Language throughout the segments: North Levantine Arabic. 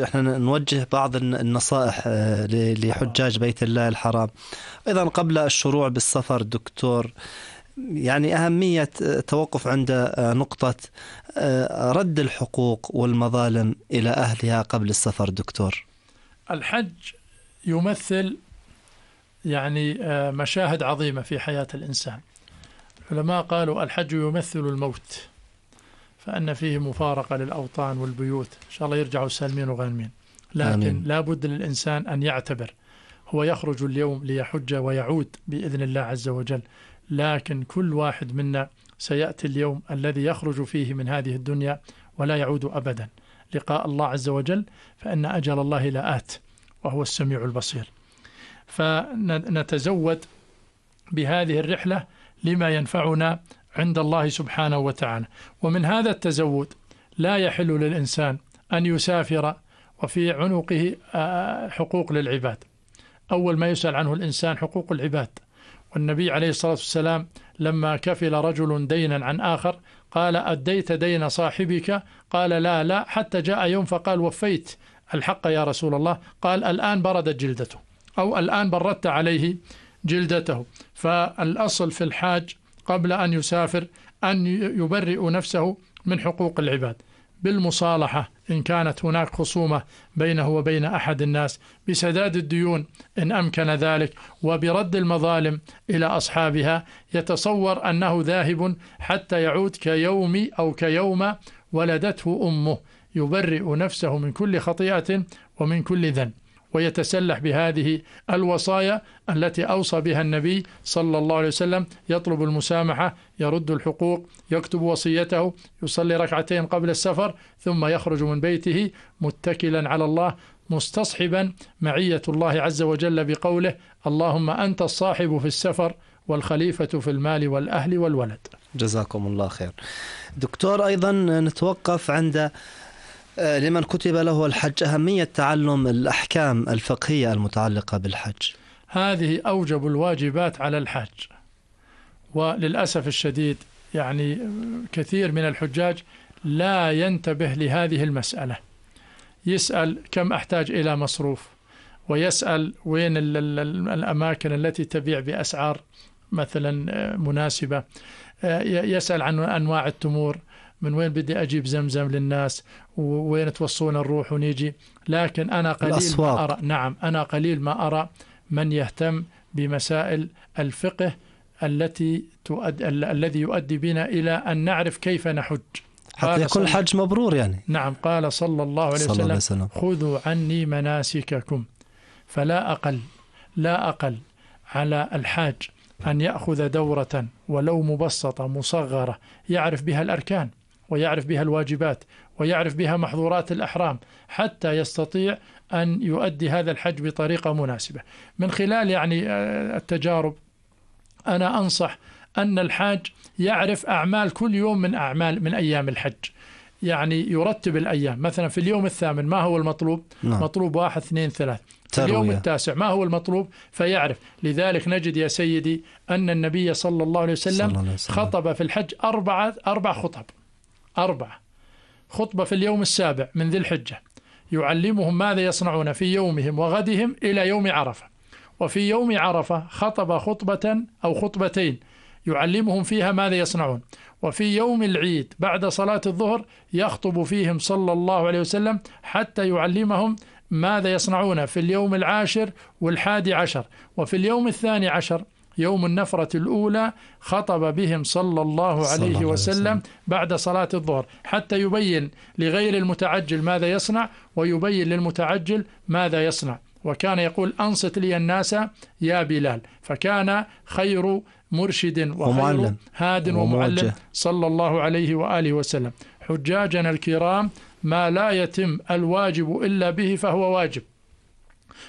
احنا نوجه بعض النصائح لحجاج بيت الله الحرام. ايضا قبل الشروع بالسفر دكتور، يعني أهمية التوقف عند نقطة رد الحقوق والمظالم إلى أهلها قبل السفر دكتور. الحج يمثل يعني مشاهد عظيمة في حياة الإنسان. العلماء قالوا الحج يمثل الموت، فأن فيه مفارقة للأوطان والبيوت، إن شاء الله يرجعوا سالمين وغانمين، لكن آمين. لا بد للإنسان أن يعتبر هو يخرج اليوم ليحج ويعود بإذن الله عز وجل، لكن كل واحد منا سيأتي اليوم الذي يخرج فيه من هذه الدنيا ولا يعود أبدا لقاء الله عز وجل، فإن أجل الله لآت وهو السميع البصير. فنتزود بهذه الرحلة لما ينفعنا عند الله سبحانه وتعالى. ومن هذا التزود لا يحل للإنسان أن يسافر وفي عنقه حقوق للعباد. أول ما يسأل عنه الإنسان حقوق العباد، والنبي عليه الصلاة والسلام لما كفل رجل دينا عن آخر قال أديت دين صاحبك؟ قال لا حتى جاء يوم فقال وفيت الحق يا رسول الله، قال الآن بردت جلدته، أو الآن بردت عليه جلدته. فالأصل في الحاج قبل أن يسافر أن يبرئ نفسه من حقوق العباد بالمصالحة إن كانت هناك خصومة بينه وبين أحد الناس، بسداد الديون إن أمكن ذلك، وبرد المظالم إلى أصحابها. يتصور أنه ذاهب حتى يعود كيوم أو كيوم ولدته أمه، يبرئ نفسه من كل خطيئة ومن كل ذنب، ويتسلح بهذه الوصايا التي أوصى بها النبي صلى الله عليه وسلم: يطلب المسامحة، يرد الحقوق، يكتب وصيته، يصلي ركعتين قبل السفر، ثم يخرج من بيته متكلا على الله مستصحبا معية الله عز وجل بقوله: اللهم أنت الصاحب في السفر والخليفة في المال والأهل والولد. جزاكم الله خير دكتور. أيضا نتوقف عند لمن كتب له الحج أهمية تعلم الأحكام الفقهية المتعلقة بالحج. هذه أوجب الواجبات على الحاج، وللأسف الشديد يعني كثير من الحجاج لا ينتبه لهذه المسألة. يسأل كم أحتاج إلى مصروف، ويسأل وين الأماكن التي تبيع بأسعار مثلا مناسبة، يسأل عن أنواع التمور، من وين بدي أجيب زمزم للناس، وين توصونا نروح ونيجي. لكن أنا قليل ما أرى، نعم أنا قليل ما أرى من يهتم بمسائل الفقه الذي يؤدي بنا إلى أن نعرف كيف نحج حتى يكون الحج مبرور يعني. نعم، قال صلى الله عليه وسلم: خذوا عني مناسككم. فلا أقل على الحاج أن يأخذ دورة ولو مبسطة مصغرة يعرف بها الأركان، ويعرف بها الواجبات، ويعرف بها محظورات الأحرام، حتى يستطيع أن يؤدي هذا الحج بطريقة مناسبة. من خلال يعني التجارب أنا أنصح أن الحاج يعرف أعمال كل يوم من أيام الحج، يعني يرتب الأيام. مثلا في اليوم الثامن ما هو المطلوب؟ مطلوب 1 2 3. في اليوم التاسع ما هو المطلوب؟ فيعرف. لذلك نجد يا سيدي أن النبي صلى الله عليه وسلم خطب في الحج 4 خطب. 4 خطبة في اليوم السابع من ذي الحجة يعلمهم ماذا يصنعون في يومهم وغدهم إلى يوم عرفة. وفي يوم عرفة خطب خطبة أو خطبتين يعلمهم فيها ماذا يصنعون. وفي يوم العيد بعد صلاة الظهر يخطب فيهم صلى الله عليه وسلم حتى يعلمهم ماذا يصنعون في اليوم 10 و11. وفي اليوم 12 يوم النفرة الأولى خطب بهم صلى الله عليه وسلم بعد صلاة الظهر، حتى يبين لغير المتعجل ماذا يصنع، ويبين للمتعجل ماذا يصنع. وكان يقول: أنصت لي الناس يا بلال. فكان خير مرشد وخير هاد ومعلم صلى الله عليه وآله وسلم. حجاجنا الكرام ما لا يتم الواجب إلا به فهو واجب.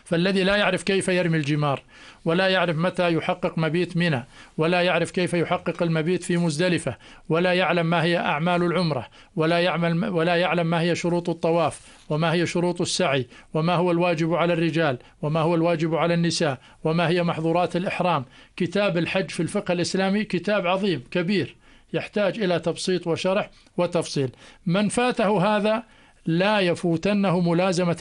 فالذي لا يعرف كيف يرمي الجمار، ولا يعرف متى يحقق مبيت منى، ولا يعرف كيف يحقق المبيت في مزدلفة، ولا يعلم ما هي أعمال العمرة، ولا يعلم ما هي شروط الطواف، وما هي شروط السعي، وما هو الواجب على الرجال، وما هو الواجب على النساء، وما هي محظورات الإحرام. كتاب الحج في الفقه الإسلامي كتاب عظيم كبير يحتاج إلى تبسيط وشرح وتفصيل. من فاته هذا لا يفوتنه ملازمة